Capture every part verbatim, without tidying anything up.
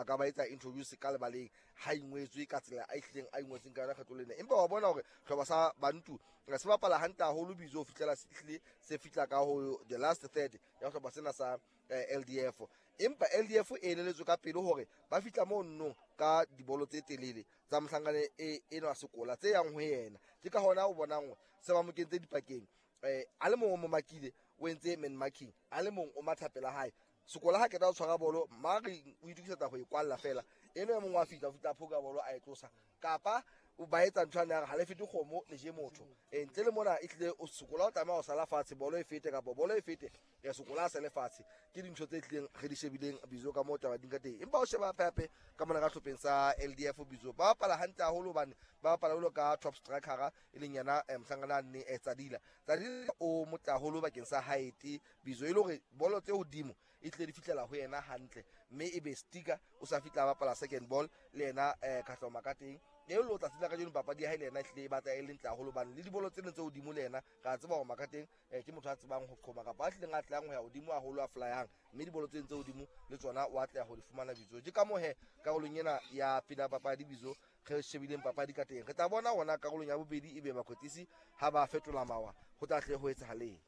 a ka ba etsa introduce ka lebaleng ha ingwetswe ka tsela a ihlileng a ingwetseng ka yona kgetlo lena. Empa wa bona hore hlopha sa Bantu se bapala hantle haholo Bizo ho fihlela se hlile se fihla ka ho the last third ya hlopha sena sa L D F. Empa L D F e eleletswe ka pele hore ba fihla moo nnong ka dibolo tse telele tsa mohlankane e enwa sekola tse yang ho yena. Ke ka hona o bonang se ba mo kentse dipakeng. Eh, a le mong o mo makile, o entse man marking, a le mong o matha pela hae. Sekola ha keta o tshwara bolo, mare o itokisetsa ho e kwalla fela. Eno e mong wa fihla, o fihla phoka bolo a e tlosa. Kapa o ba etsa ntho ane ya re ha le fete kgomo le je motho. Eh, ntle le mona ehlile o Sekola o tlameha ho sala fatshe, bolo e fete kapa bolo e fete, ya Sekola a sale fatshe. Ke dintho tse tlileng re di shebileng Bizo ka moo taba di ka teng. Empa o sheba hape hape ka mona ka hlopheng sa L D F Bizo, ba bapala hantle haholo hobane ba bapala jwalo ka top striker e leng yena, eh, mohlankana a nne, eh, Tsadila. Tsadila o motle haholo bakeng sa height Bizo, e le hore bolo tse hodimo e tlile di fihlela ho yena hantle, mme ebe sticker o sa fihla a bapala second ball le yena, eh, Katlehong Makateng. E lo tla tsela kajeno papadi ya hae le yena ehlile e batla e le ntle haholo hobane le dibolo tse ding tse hodimo le yena re a tseba hore Makateng, eh, ke motho a tsebang ho qhoma kapa a hlileng a tlang ho ya hodimo haholo a flyang, mme dibolo tse ding tse hodimo le tsona o atleha ho di fumana Bizo. Ke ka moo he karolong ena ya pele ya papadi Bizo re shebileng papadi ka teng. Re tla bona hona karolong ya bobedi ebe bakwetlisi ha ba fetola mawa ho tla hle ho etsahaleng.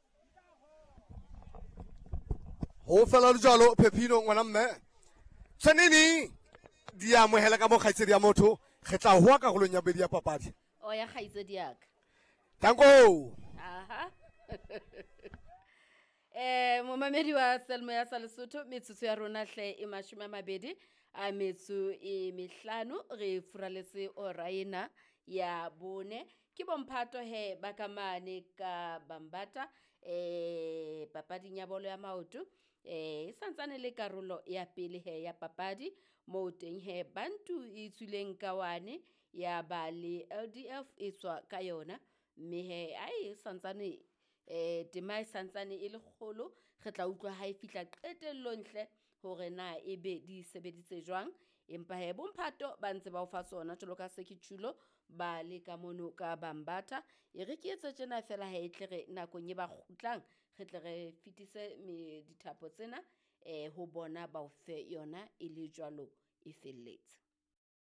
Ho fela le jwalo Phephino ngwana mme. Tshwaneng di amohela ka mo kgaitsedi ya motho, re tla hoa karolong ya bobedi ya papadi. O ya kgaitsedi ya ka. Danko. Aha. Eh, momamedi wa Selmo ya sa Lesotho, metsotso ya rona hle e mashome a mabedi a metso e mehlano, re furaletse ora ena ya bone. Ke bomphato he ba ka mane ka Bambata, eh, papading ya bolo ya maoto. Eh, e santsane le karolo ya pele he ya papadi moo teng he Bantu e tswileng ka wane ya ba le L D F e tswa ka yona, mme he ai e santsane, eh, tema e santsane e le kgolo. Re tla utlwa ha e fihla qetellong hle hore na ebe di sebeditse jwang. Empa he bomphato ba ntse ba o fa tsona jwalo ka se ke tjhulo ba le ka mono ka Bambata. E re ke etse tjena fela ha e tle re nakong e ba kgutlang re tle re fetise me dithapo tsena, eh, ho bona ba o fe yona e le jwalo e felletse.